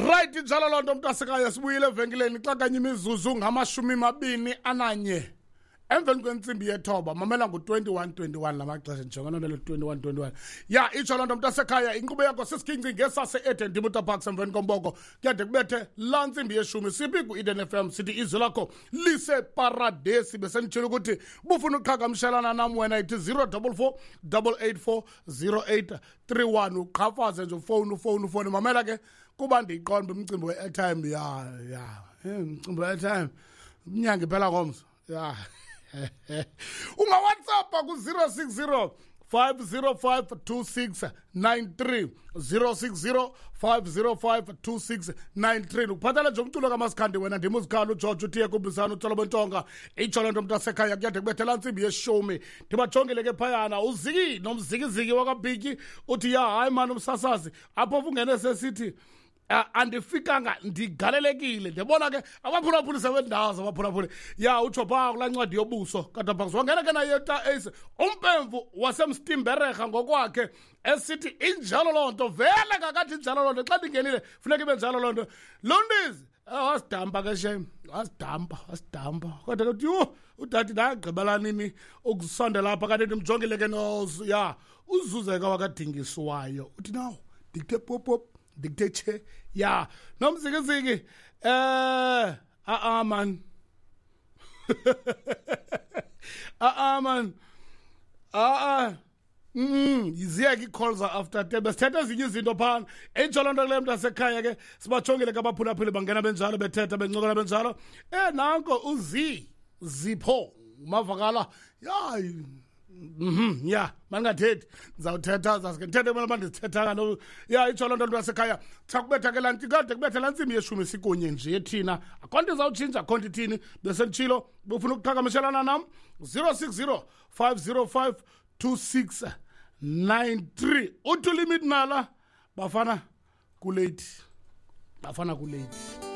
Right, injalo loo nto, mntasekhaya. Sibuyile evenkileni xa kanye imizuzu ngama-21 emveni kwentsimbi yethoba. Mamela, ngu-21:21 la maxesha, njengona nelo 21:21. Ya, itsho loo nto, mntasekhaya. Inkqubo yakho sisiginci ngesase-Eden Dimuta Parks emveni komboko, kuyade kubethe laa ntsimbi yeshumi. Siphi? Ku-Eden FM. Sithi izwi lakho liseparadesi. Besenditshilo ukuthi bufuna uqhagamshelana nam wena, ithi 044 884 0831. Uqhafaze nje, ufowuni, ufowuni, ufowuni. Mamela ke, kuba ndiyiqonda umcimbi we-airtime. Ya, umcimbi we-airtime umnyango iphela ngomso. Ya, ungawhatsappa ku-060 505 2693, 060 505 2693. Ukuphathela nje umculo kamasikhandi wena, ndimuzikhali uGeorge uthiye kumbisana utsolo bentonga. Itsho loo nto, mntasekhaya, kuyade kubethela ntsimbi yeshumi. Ndibajongile ke phayana uziki nomzikiziki wakabhityi, uthi ya, hayi mani, umsasazi apho ungene sesithi andifikanga, ndigalelekile. Ndiyabona ke abaphulaphuli sebendazo abaphulaphuli. Ya, utsho phaa kulaa ncwadi yobuso kadabhaks, wangena ke naye ta ace umpemvu wasemstimbereha ngokwakhe, esithi injalo loo nto vele kakathi, injalo loo nto. Xa ndingenile funeka ibe njalo loo nto. Londizi wasidampa ke shem, wasidampa, wasidampa. Kodwa ke yhu, udade ndagqibela nini ukusondela apha kanti ndimjongile ke no ya uzuzeka wakadingiswayo, uthi naw ndikuthe pop pop, ndikuthe tshe. Ya, nomzikiziki, a-a man, a-a man, a-a. Ziyeke ii-calls after 10, besithetha ezinye izinto phana. Intsho loo nto kule mntu asekhaya ke. Sibajongile ke abaphulaphuli, bangena benjalo, bethetha, bencokola benjalo. Nanko uzi zipho mavakala ya. Ya, mandingathethi, ndizawuthetha, zaske ndithethe kumele uba ndizithetha kaloku. Ya, itsho loo nto, nto yasekhaya. Sakubetha ke laa nto kade kubetha laa ntsimbi yeshumi, sikunye nje thina. Akho nto izawutshintsha, akho nto ithini. Besenditshilo, bufuna ukuqhagamshelana nam, 060 505 2693. Uthi ulimit nala bafana kulate, bafana kulate.